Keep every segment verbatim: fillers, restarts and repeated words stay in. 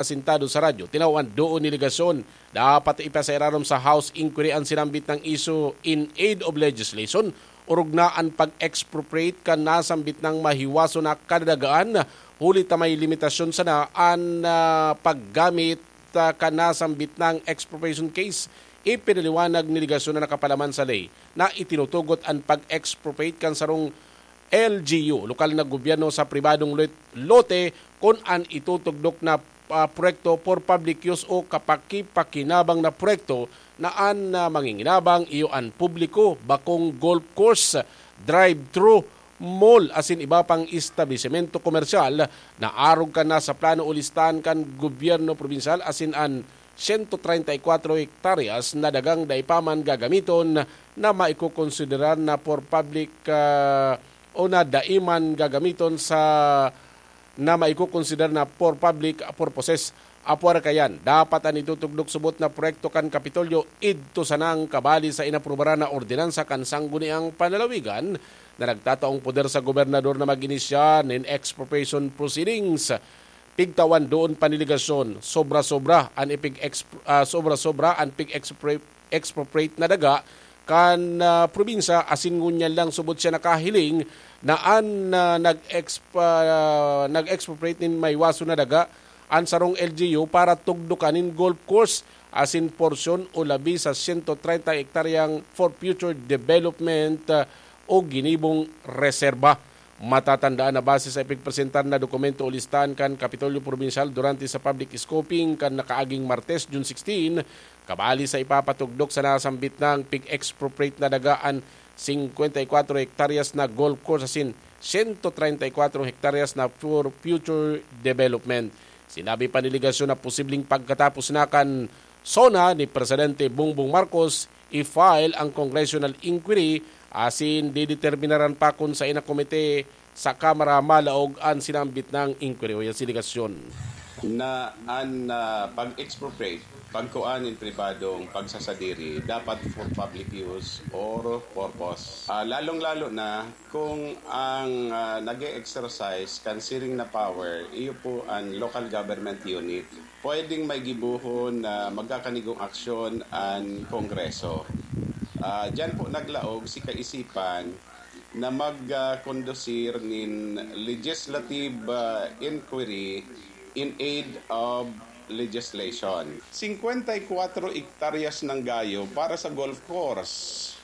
asintado sa radyo, tinawan doon ni ligasyon, dapat ipasairarom sa House inquiry an sinambit na isyu in aid of legislation, orog na an pag-expropriate kan nasambit na mahiwaso na kadadagaan, huli ta may limitasyon sana an ah, paggamit ah, kan nasambit na expropriation case. Ipinaliwanag ni ligasyon na nakapalaman sa ley na itinutugot an pag-expropriate kan sarong L G U, lokal na gobyerno sa pribadong lot-, lote, kun an itutugdok na ah, proyekto for public use o kapakipakinabang na proyekto na an ah, manginginabang iyo an publiko, bakong golf course, drive-thru, mall asin iba pang establisemento komersyal na arog kan nasa plano o listahan kan gobyerno probinsyal asin an sento treinta y kuatro hektaryas na dagang dai pa man gagamiton na maikokonsiderar na for public ah, o na dai man gagamiton sa na maikokonsiderar na for public purposes. Apwar kayan, dapat an itutugdok subot na proyekto kan Kapitolyo idto sanang kabali sa inaprubaran na ordinansa kan Sangguniang Panlalawigan na nagtataong poder sa gobernador na mag-inisyar nin expropriation proceedings. Pigtawan doon pa ni ligasyon, sobra-sobra an ipig-exp-, ah, sobra-sobra an pig-expro-, expropriate na daga kan ah, probinsya, asin ngunyan lang subot siya nakahiling na an ah, nag-exp-, ah, nag-expropriate nin mahiwaso na daga, an sarong L G U para tugdokan nin golf course asin porsyon o labi sa sento treinta hektaryang for future development ah, o ginibong reserba. Matatandaan na base sa ipigpresentar na dokumento o listahan kan Kapitolyo Probinsyal durante sa public scoping kan nakaaging Martes, June sixteen, kabali sa ipapatugdok sa nasambit na pig-expropriate na daga an singkwenta y kuatro hektaryas na golf course asin sento treinta y kuatro hektaryas na for future development. Sinabi pa ni ligasyon na posibleng pagkatapos na kan SONA ni Presidente Bongbong Marcos, i-file ang congressional inquiry asin dideterminaran pa kun saen na komite sa Kamara malaog an sinambit na inquiry o investigasyon. Na an ah, pag-expropriate, pagkuan nin pribadong pagsasadiri, dapat for public use or purpose. Ah, lalong-lalo na kung ang ah, nag-e-exercise kan siring na power, iyo po an local government unit. Pwedeng may gibohon na magkakanigong aksyon an Kongreso. Ah, diyan po naglaog si kaisipan na magkondusir nin legislative ah, inquiry in aid of legislation. Singkwenta y kuwatro hektaryas ng gayo para sa golf course.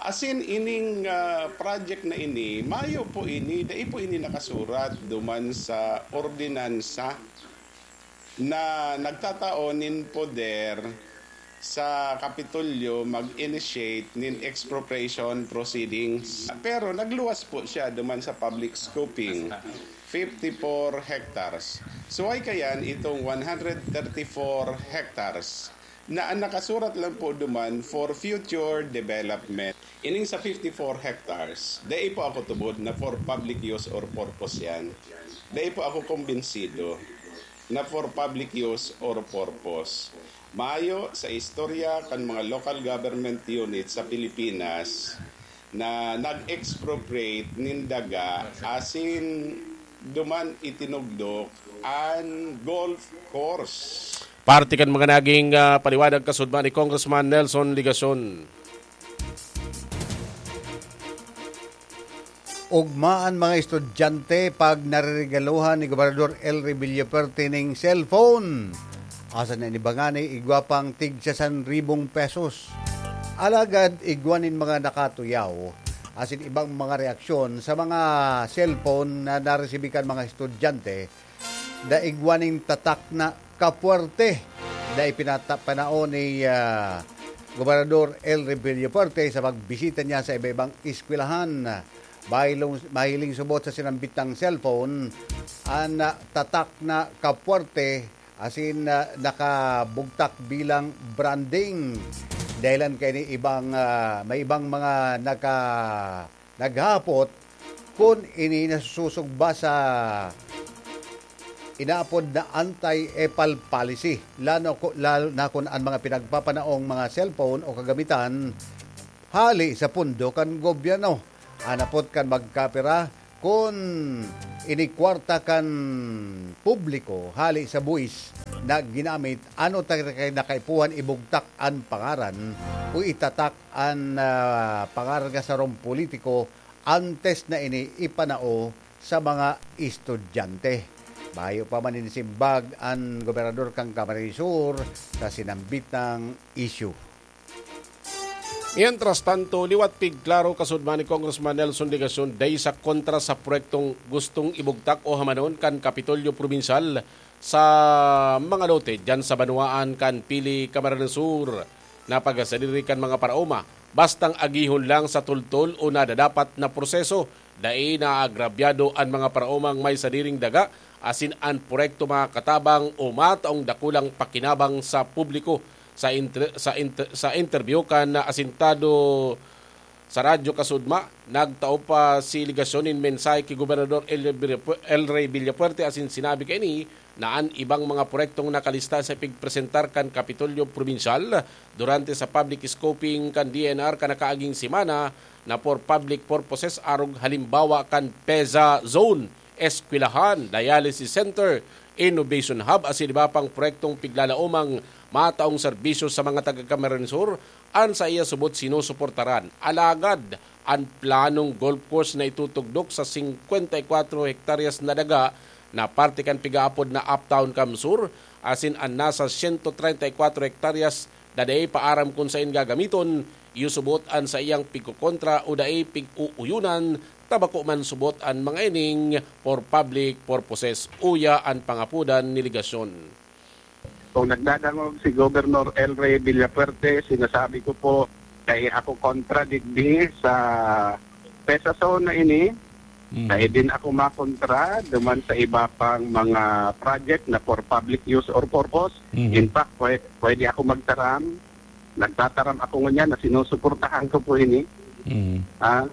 Asin ining ah, project na ini, mayo po ini, dai po ini nakasurat duman sa ordinansa na nagtatao nin poder sa Kapitolyo mag-initiate nin expropriation proceedings. Pero nagluwas po siya duman sa public scoping, fifty-four hectares. So, ay kayan itong one hundred thirty-four hectares na ang nakasurat lang po duman for future development. Ining sa fifty-four hectares, dai po ako tubod na for public use or purpose yan. Dai po ako kumbinsido na for public use or purpose. Mayo sa istorya kan mga local government unit sa Pilipinas na nag-expropriate nin daga asin duman itinugdok an golf course. Parte kan mga naging ah, paliwanag kasudma ni Congressman Nelson Legacion. Ugma an mga estudyante pag nareregaluhan ni Gobernador Elry Villafuerte ning cellphone. Asa na ini bangani, igwa pang tig sasan ribong pesos. Alagad igwa nin mga nakatuyaw asin ibang mga reaksyon sa mga cellphone na naresibi kan mga estudyante, daigwa nin tatak na kapuwerte na ipinata-, panao ni ah, Gobernador Elry Villafuerte sa pagbisita niya sa iba-ibang eskwelahan. Mahiling, mahiling subot sa sinambit ng cellphone, an ah, tatak na kapuwerte asin ah, nakabugtak bilang branding. Dahilan kaini ibang ah, may ibang mga naka naghapot kun ini nasusugba sa inaapod na anti-epal policy, lalo, lalo na kun an mga pinagpapanaong mga cellphone o kagamitan hali sa pondo kan gobyerno. An apot kan magkapira kun ini kwarta kan publiko hali sa buwis na ginamit, ano ta kay nakaipuhan ibugtak an pangaran o itatak an, ah, pangaran kan sarong politiko antes na ini ipanao sa mga estudyante. Mayo pa man inisimbag an gobernador kan Camarines Sur sa sinambitang isyu. Mientras tanto, liwat pigklaro kasudman ni Congressman Nelson Legacion dai sa kontra sa proyektong gustong ibugtak o hamanon kan Kapitolyo Probinsyal sa mga lote diyan sa banwaan kan Pili, Camarines Sur. Napagsadiri kan mga paraoma, bastang agihon lang sa tultol o nadadapat na proseso, dai naagrabyado an mga paraomang may sadiring daga asin an proyekto makatabang o mataong dakulang pakinabang sa publiko. Sa inter-, sa inter-, sa interview kan asintado sa Radyo Kasudma, nagtao pa si Legacion nin mensahe ki Gobernador El Villapu-, El Rey Villafuerte asin sinabi kaini na an ibang mga proyektong nakalista sa pigpresentar kan Kapitolyo Probinsyal durante sa public scoping kan D E N R kan nakaaging semana na for public purposes, arog halimbawa kan PEZA Zone, eskwelahan, dialysis center, innovation hub asin iba pang proyektong piglalaomang mataong serbisyo sa mga taga Camarines Sur, an saiya subot sinusuportaran. Alagad, an planong golf course na itutugdok sa singkwenta y kwatro hektaryas na daga na parte kan pigaapod na Uptown Cam Sur, asin an nasa siyento treinta y kwatro hektaryas na dai pa aram kun saen gagamiton, iyo subot an saiyang pigkokontra o dai pig-uuyonan, ta bako man subot an mga ining for public purposes, uya an pangapodan ni Legacion. Kung nagdadangog si Governor El Rey Villafuerte, sinasabi ko po, dai ako kontra digdi sa PEZA zone na ini. Mm. Dai din ako makontra duman sa iba pang mga project na for public use or purpose. Mm. In fact, pwe-, pwede ako magtaram. Nagtataram ako ngunyan na sinusuportahan ko po ini. Mm. Ah,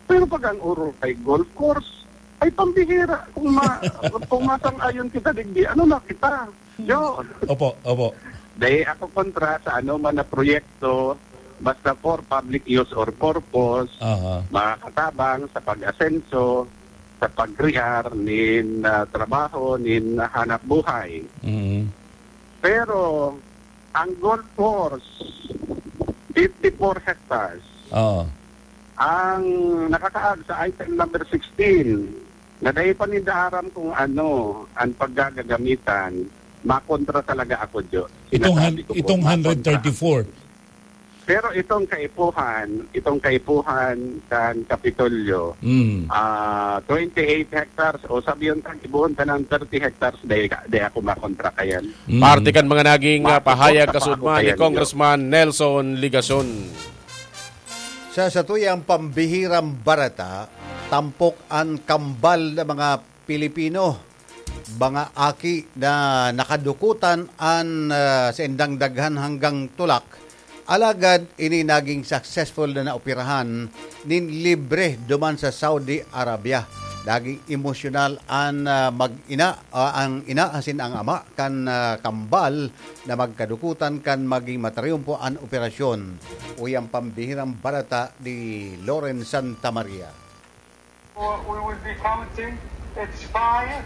pero pag ang orog ay golf course, ay pambihira. Kung ma-, kung masang-ayon kita digdi, ano na kita? Yo. Opo, opo. Dai ako kontra sa anoman na proyekto, basta for public use or purpose, Aha. makakatabang sa pag-asenso, sa pag-crear nin, ah, trabaho, nin hanap buhay. Mm. Pero ang golf course, fifty-four hectares. Oo. Ang nakakaag sa item number sixteen, na dai pa ninda aram kung ano ang paggagagamitan, makontra talaga ako, Jo. Itong Sinasabi han-, ko po, itong makontra. Hundred thirty-four. Pero itong kaipuhan, itong kaipuhan kan Kapitolyo, Mm. ah, twenty-eight hectares, o sabi yung tag-ibuhon ka ng thirty hectares, dai ka, dai ako makontra kayan. Mm. Parte kan mga naging, ah, Makontra pahayag pa ako kasudman ni kayan, Jo. Congressman Nelson Legacion. Sa satuyang pambihirang bareta, tampok an kambal na mga Pilipino, mga aki na nakadukutan an, ah, saindang daghan hanggang tulak. Alagad ini naging successful na naoperahan nin libre duman sa Saudi Arabia. Naging emosyonal an, ah, mag-ina, ah, ang ina asin ang ama kan, ah, kambal na magkadukutan kan maging matriyumpo an operasyon. Uya an pambihirang bareta ni Loren Santa Maria. We will be counting. It's five,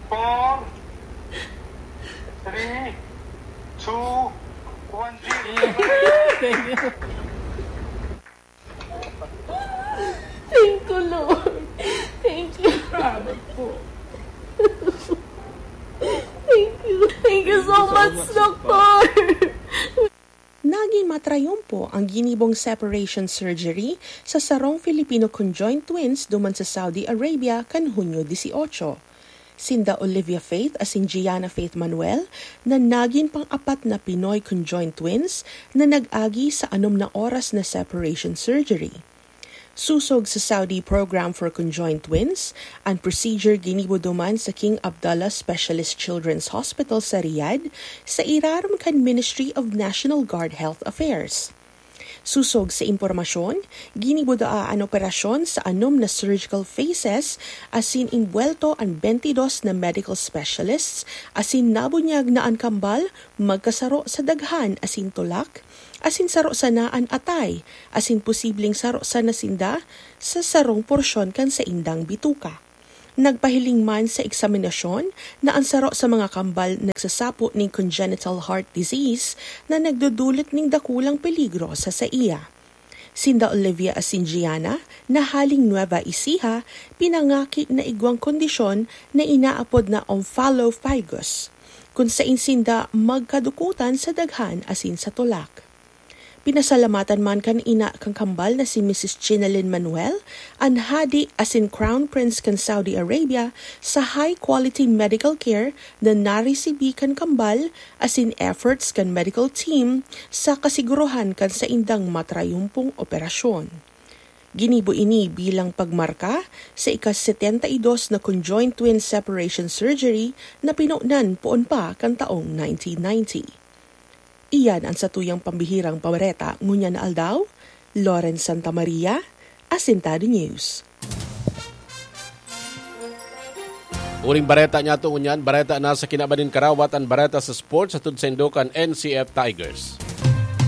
four, three, two, one, zero. Thank you. Thank you, Lord. Thank you. Salamat po. Thank you. Thank you so much, Doktor. Nagin matrayumpo ang ginibong separation surgery sa sarong Filipino conjoined twins duman sa Saudi Arabia kan Hunyo dieciocho. Sinda Olivia Faith asin Gianna Faith Manuel na nagin pang-apat na Pinoy conjoined twins na nag-agi sa anom na oras na separation surgery. Sosog sa Saudi Program for Conjoined Twins, an procedure ginibo duman sa King Abdullah Specialist Children's Hospital sa Riyadh, sa irarom kan Ministry of National Guard Health Affairs. Sosog sa impormasyon, ginibo daa an operasyon sa anom na surgical phases, asin imbwelto an twenty-dos na medical specialists, asin nabunyag na an kambal magkasaro sa daghan asin tulak, asin saro sana an atay, asin posibleng saro sana sinda sa sarong porsyon kan saindang bituka. Nagpahiling man sa eksaminasyon na ang saro sa mga kambal nagsasapo nin congenital heart disease na nagdudulot nin dakulang peligro sa saiya. Sinda Olivia asin Gianna, na haling Nueva Ecija, pinangaki na igwang kondisyon na inaapod na omphalophagus, kun sain sinda magkadukutan sa daghan asin sa tulak. Pinasalamatan man kan ina kan kambal na si Missus Chinalyn Manuel, an hadi asin Crown Prince kan Saudi Arabia, sa high-quality medical care na naresibi kan kambal asin efforts kan medical team sa kasiguruhan kan saindang matrayumpong operasyon. Ginibo ini bilang pagmarka sa ika-setenta y dos na conjoint twin separation surgery na pinunan poon pa kan taong nineteen ninety. Iyan an satuyang pambihirang bareta ngunyan na aldaw. Lawrence Santa Maria, Asintado News. Uring bareta niyato ngunyan, bareta na sa kinaban nin karawat, an bareta sa sports hatod saindo kan N C F Tigers.